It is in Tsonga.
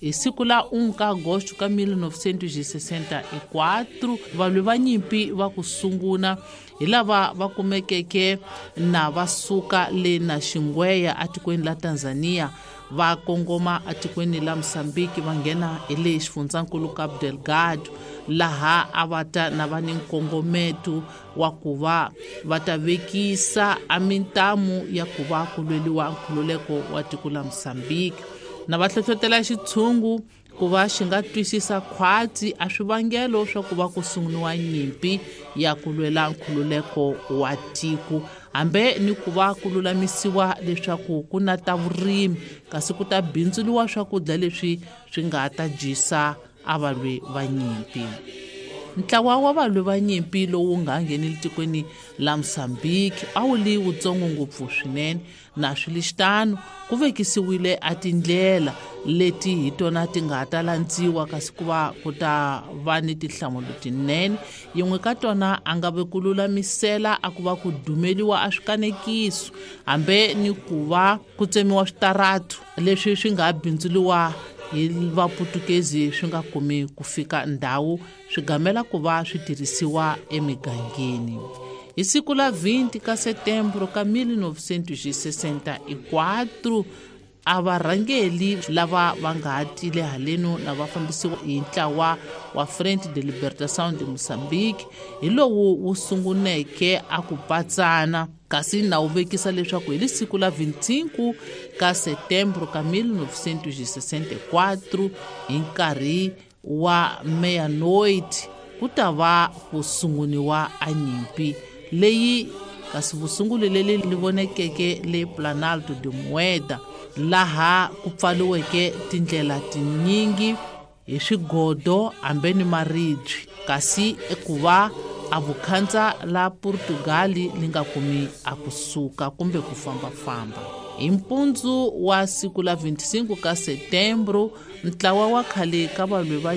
Hi siku la 1 ka agosto ka 1964, valwi va nyimpi va ku sunguna hi lava va kumekeke na va suka le na Xingweya atikweni la Tanzania, va kongoma atikweni la Mosambiki, va nghena hi le xifundzankulu Cabo Delgado, laha a va ta na va ni nkongometo wa ku va va ta vekisa a mintamu ya ku va ku lweliwa nkhululeko wa tiko la Mosambiki, na va hlohlotela xitshungu ku va xi nga twisisa khwatsi a swivangelo swa ku va ku sunguriwa nyimpi ya ku lwela nkhululeko wa tiko, hambe ni ku va ku lulamisiwa leswaku ku na ta vurimi kasi ku ta bindzuliwa swakudya leswi swi nga ta dyisa a valwi va nyimpi. Ntlawa wa valwi va nyimpi lowu nga nghenile tikweni la Mosambiki a wu li wutsongo ngopfu swinene, na swi li xitano ku vekisiwile a tindlela leti hi tona ti nga ta landziwa kasi ku va ku ta va ni tinhlamulo tinene. Yin'we ka tona a nga ve ku lulamisela a ku va ku dumeliwa a swikanekiso, hambe ni ku va ku tsemiwa switaratu leswi swi nga bindzuliwa hi vaputukezi swi nga kumi ku fika ndhawu, swi gamela ku va swi tirhisiwa emigangeni. Hi siku la 20 ka setembro ka 1964, a varhangeli lava va nga ha tile haleno na va fambisiwa hi ntlawa wa Frente de Libertação de Moçambique, hi lowu wu sunguneke a ku patsana, kasi na wu vekisa leswaku hi lisiku la 25 ka setembro ka 1964, hi nkarhi wa meia-noite, ku ta va ku sunguniwa a nyimpi leyi, kasi vusunguli leli li vonekeke le Planalto de Mueda, laha ku pfaliweke tindlela tinyingi hi swigodo hambe ni maribye, kasi ku va a vukhandza la Portugali li nga kumi a kusuka kumbe ku fambafamba. Hi mpundzu wa siku la 25 ka setembro, ntlawa wa khale ka valwi va